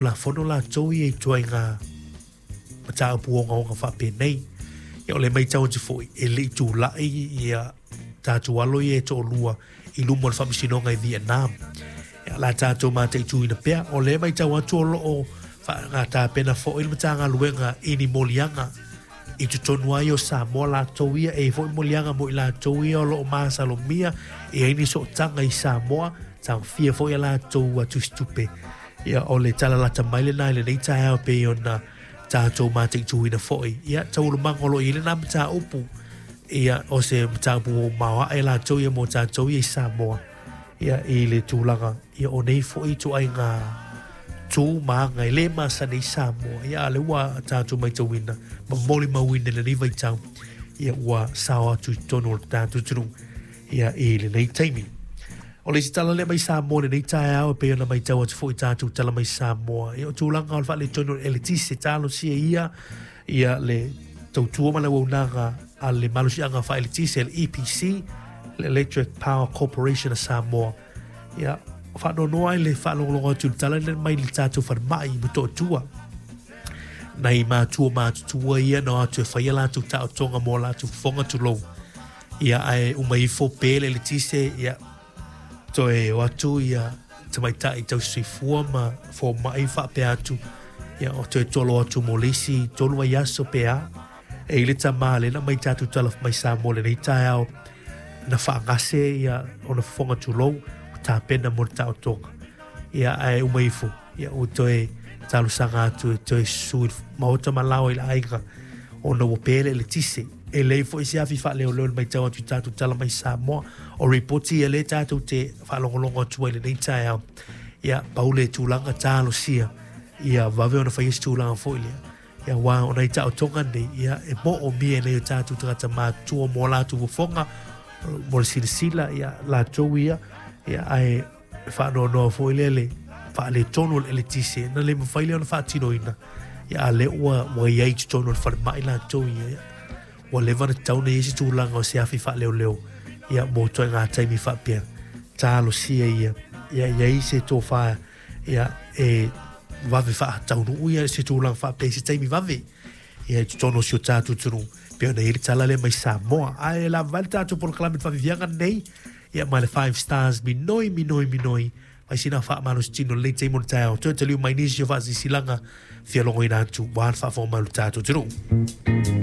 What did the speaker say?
Tulafono latou ia i ituaiga mataupu ogaoga faapenei. Ia o le matau atu foi, e le i tulai ia tatou alo ia e toalua i luma o le faamasinoga i Vietnam. Ia, o le a tatou mataituina pea. O lea e matau atu o lo o tapena foi le Matagaluega i ni moliaga i totonu ai o Samoa latou ia, e i ai foi moliaga mo i latou ia o lo o masalomia e i ai ni sootaga i Samoa, taofia foi a latou tusitupe. Ia, o le tala lata mai lena i lenei taeao e pei ona tatou mataituina foi. Ia, taualumaga o lo o i ai lena mataupu, ia, o se mataupu maoae latou ia mo tatou ia i Samoa, ia, i le tulaga, ia, o nei foi ituaiga tu ma aga e le masani ai Samoa, ia, a o lea ua tatou matauina ma molimauina i lenei vaitau, ia, ua sao atu i totonu o le tatou atunuu, ia, i lenei taimi. O le isi tala lea mai Samoa i lenei taeao e pei ona matau atu foi i tatou tala mai Samoa, ia o tulaga o le faaletonu o le eletise, talosia ia ia le tautua ma le auaunaga a le malosiaga faaeletise, le EPC, le Electric Power Corporation of Samoa. Ia, faanoanoa ai le faalogologo atu i le tala lea mai le tatou falemai i Motootua. Nai matua matutua ia na o atu e fai a latou taotoga mo a latou fofoga tulou. Ia, ae uma ifo pe le eletise, ia, toe o atu ia tamaitai tausisoifua ma fomai faapea atu, ia, o toe tolo atu mo le isi 3 vaiaso pe a. E i ai le tama lea na aumai tatou tala mai Samoa i lenei taeao, na faagase ia ona fofoga tulou, ua tapena mo le taotoga. Ia, ae uma ifo, ia, ua toe talosaga atu e toe susu i le maota ma lao i le aiga ona ua pe le eletise. E leai foi se afi faaleoleo i le matau atu i tatou tala mai Samoa. O ripoti ia lea tatou te faalogologo atu ai i lenei taeao. Ia, pau le tulaga talosia ia vave ona fai se tulaga foi lea. Ia, aua o nai taotoga nei, ia, e moomia e nai o tatou tagata matutua mo latou fofoga, mo le silasila, ia, latou ia, ia, ae e faanoanoa foi lea le faaletonu o le eletise na le mafai lea ona faatinoina, ia, a lea ua, ua i ai i totonu o le falemai latou ia, ia, ua leva ona tatau ona i ai se tulaga o se afi faaleoleo, ia, mo ituaiga taimi faapea. Talosia ia, ia i ai se tofa, ia, e vave faataunuu ia se tulaga faapea i se taimi vave, ia, i totonu o si o tatou atunuu, pei ona i ai le tala lea mai Samoa. Ae lava ai le tatou polokalame i le faaviaviaga lenei, ia, ma le Five Stars, minoi, minoi, minoi, fai sina faamalositino i lenei taimi o le taeao, toe taliu mai nisi o faasilasilaga fia logoina atu, aua le faafofoga mai o le tatou atunuu.